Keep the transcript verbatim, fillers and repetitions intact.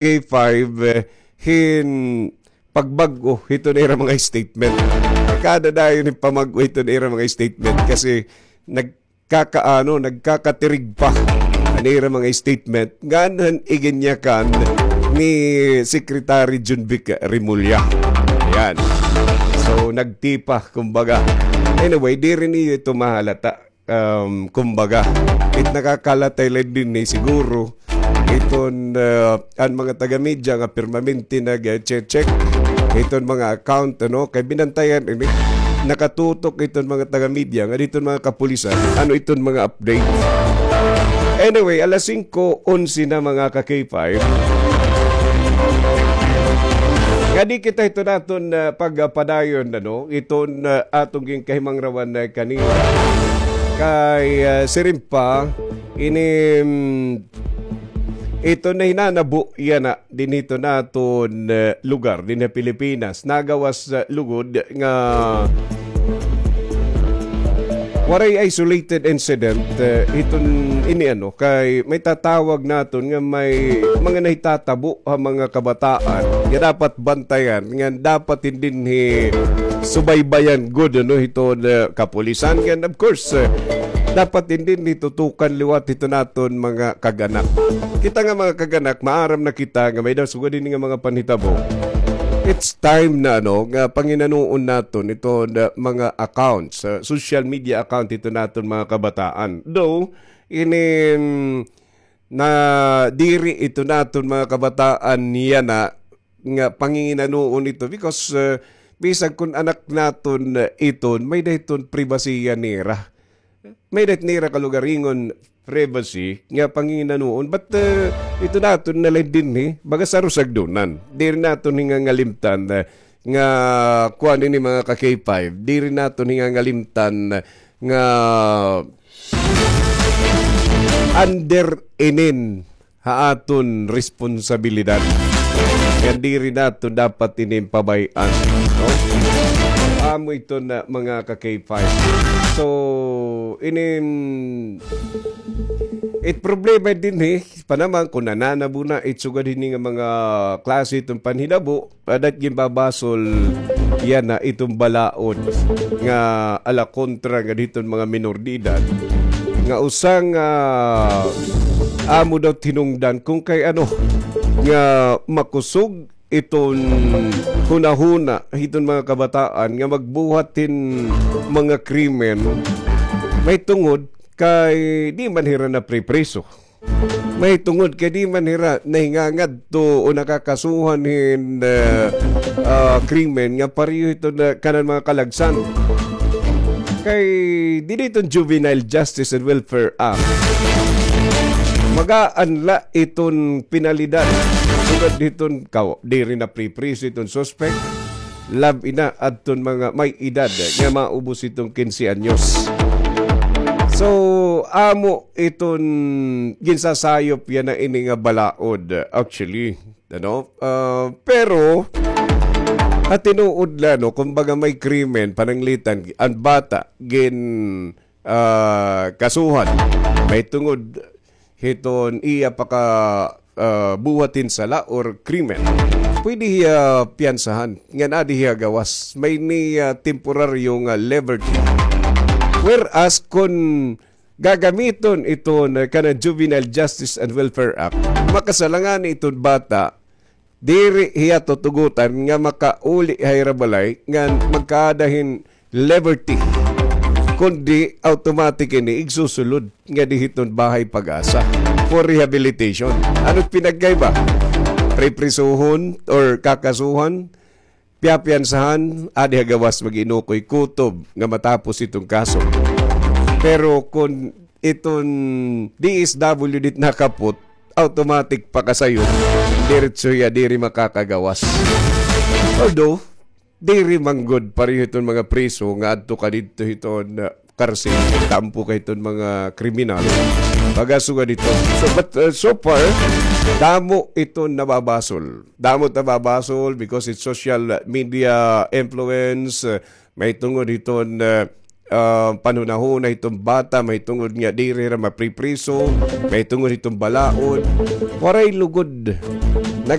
K five, eh, hin pagbag-o hiton ira mga statement. Kada dayon hin pamag-o hiton ira mga statement kasi nagkakaano, nagkakatirig pa an ira mga statement ngan han iginyakan ni Secretary Jonvic Remulla. Ayan. So, nagtipa, kumbaga. Anyway, diri niyo ito mahalata. Um, kumbaga, it nakakalatay la dinhi siguro, iton, uh, an mga taga-media nga permanente nag-check iton mga account, ano, kay binantayan ini, nakatutok iton mga taga-media nga diton mga kapulisan, ano iton mga update. Anyway, alas singko onse na, mga ka-K five. Nga di kita ito naton, uh, pagpadayon, ano, iton, uh, aton ginkahimangrawan na kanina. Kay, ah, siring pa, ini, mm, ito na hinanabo yana dinhi hiton aton, eh, lugar, dinhi ha Pilipinas. Nagawas, eh, lugod nga waray isolated incident, eh, hiton ini, ano, kay may tatawag naton nga may mga nahitatabo ha mga kabataan nga dapat bantayan, nga dapat hin dinhi subaybayan gud, ano, hiton, eh, kapulisan. And of course, eh, dapat hin dinhi tutukan liwat hiton aton mga kag-anak. Kita nga mga kag-anak, maaram na kita nga may-ada sugad hini nga mga panhitabo. It's time na, ano, nga panginanuon naton iton, eh, mga accounts, eh, social media account hiton aton mga kabataan. Though, ini, mm, na diri ito naton mga kabataan niya na nga panginginanuon ito because, uh, bisag kun anak naton, uh, iton, may-ada iton pribasiya nira. May-ada nira kalugaringon privacy nga panginginanuon. But, uh, ito naton na la dinhi, baga sa rusagdunan. Diri naton hingangalimtan, uh, nga kuan ini, mga ka-K five. Diri naton hingangalimtan nga under inin ha aton responsabilidad. Nga diri naton dapat inin pabay-an, no? Amo ito na, mga ka-K five. So, inin, it problema dinhi, pa naman, kun nananabo na, it sugad hini nga mga klase iton panhitabo, adat ginbabasol yana iton balaod nga ala kontra nga diton mga minor de edad, nga usa nga amo daw hinungdan kun kay ano nga makusog iton hunahuna hiton mga kabataan nga magbuhat hin mga krimen mahitungod kay di man hira napripriso. Mahitungod kay di man hira nahingangadto o nakakasuhan hin, ah, ah, krimen nga pareho hiton kanan mga kalagsan. Kay diri hiton Juvenile Justice and Welfare Act, magaan la iton penalidad. Sugad hiton kaw, diri napripriso iton suspect. Labi na adton mga may edad nga maubos iton kinse anyos. So, amo iton ginsasayop yana ini nga balaod, actually, ano? Ah, pero, ha tinuod la, no, kumbaga may krimen, pananglitan, an bata, gin, ah, kasuhan. Mahitungod hiton iya paka, ah, buhat hin sala or krimen, pwede hiya piyansahan ngan adi hiya gawas. May ini, ah, temporaryo nga liberty. Whereas kun gagamiton iton kanan Juvenile Justice and Welfare Act, makasala ngani iton bata, diri hiya tutugotan nga makauli ha ira balay ngan magkaada hin liberty, kundi automatic ini igsusulod ngadi hiton Bahay Pag-asa for rehabilitation. Ano it pinagkaiba? Priprisuhon or kakasuhan, piyapiyansahan, adi ha gawas mag-inukoy kutob nga matapos iton kaso. Pero kun iton D S W D it nakapot, automatic pakasayop, diretso hiya, diri makakagawas. Although, diri man gud pareho iton mga priso nga adto ka didto hiton, ah, karsil, tampo ka hiton mga kriminal. Baga sugad hito. So, but, uh, so far, damo iton nababasol. Damo it nababasol because it's social media influence, uh, mahitungod hiton, uh, uh, panhunahuna hiton bata, mahitungod nga diri hira mapripriso, mahitungod hiton balaod. Waray lugod